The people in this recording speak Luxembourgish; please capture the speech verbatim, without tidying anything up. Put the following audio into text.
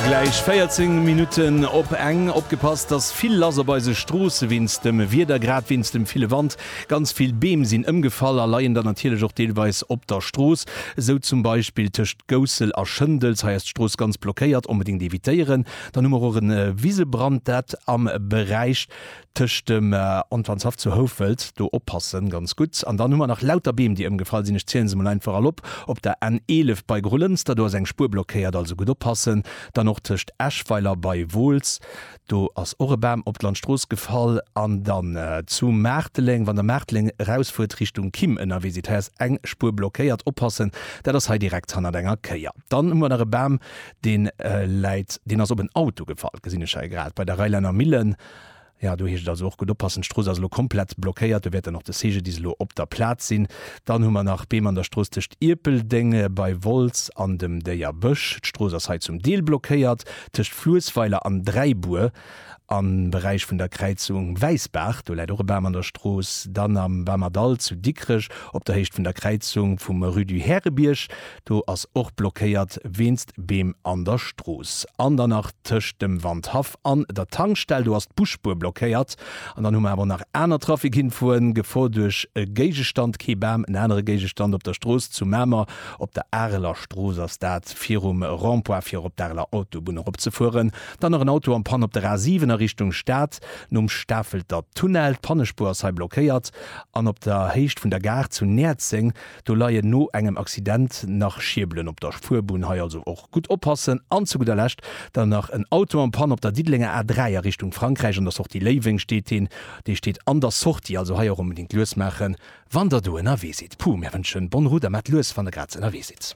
Gläich véierzéng Minutten op eng. Opgepasst, dass vill lass op eise Stroosse wéinst dem Wieder, grad wéinst dem ville Wand. Ganz vill Beem sinn ëmgefall a leien dann natierlech och deelweis op der Strooss. Esou zum Beispill tëscht Goussel a Schëndels. Hei ass d'Strooss ganz blockéiert, onbedéngt evitéieren. Dann hu mer och e Wisebrand, dat am Beräich tëscht dem Antoineshaff zu Houfelt. Do oppassen, ganz gutt. An dann hu mer nach lauter Beem, déi ëmgefall sinn. Ech zielen se mol einfach all op. Op der N eelef bei Grolënster, do ass eng Spuer blockéiert, also gutt oppassen. Dann och tëscht Eschweiler bei Wooltz, do ass och e Bam op d'Landstrooss gefall. An dann zu Maarteleng, wann der Maarteleng erausfuert Richtung Kimm ënnerwee sidd, hei ass eng Spuer blockéiert, oppassen, dat ass hei direkt hannert enger Kéier. Dann hu mer nach e Bam, dee läit, deen ass op en Auto gefall, gesinn ech hei grad, bei der Reilener Millen. Jo, do heescht et also och gutt oppassen, d'Strooss ass elo komplett blockéiert, do wäert dann och de C G D I S elo op der Plaz sinn. Dann hu mer nach Beem an der Strooss tëscht Ierpeldeng bei Wolz an dem Déierbësch, d'Strooss ass hei zum Deel blockéiert. Tëscht Fluessweiler an Dräibuer am Beräich vun der Kräizung Wäissbaach, do läit och e Bam an der Strooss. Dann am Bamerdall zu Dikrech op der Héicht vun der Kräizung vum Rue du Härebierg, do ass och blockéiert wéinst Beem an der Strooss. An dann nach tëscht dem Wandhaff an der Tankstell, do ass d'Busspuer blockéiert. An dann hu mer awer och nach aner Trafikinfoen, Gefor duerch e Géigestand, kee Bam, en anere Géigestand op der Strooss zu Mamer, op der Areler Strooss ass dat, virum Rond-point fir op d'Areler Autobunn eropzefueren. Dann nach en Auto en panne op der A siwen a Richtung Stad, nom Stafelter Tunnel, d'Pannespuer ass hei blockéiert. An op der Héicht vun der Gare zu Näerzeng, do leien no engem Accident nach Schierbelen op der Fuerbunn, hei also och gutt oppassen. An zu gudder Lescht dann nach en Auto en panne op der Diddelenger A dräi a Richtung Frankräich, an der Sortie Léiweng steet deen, dee steet an der Sortie, also hei och onbedéngt lues maachen, wann der do ënnerwee sidd. Puh, mär wënschen bonne route a maacht lues, wann der grad ënnerwee sidd.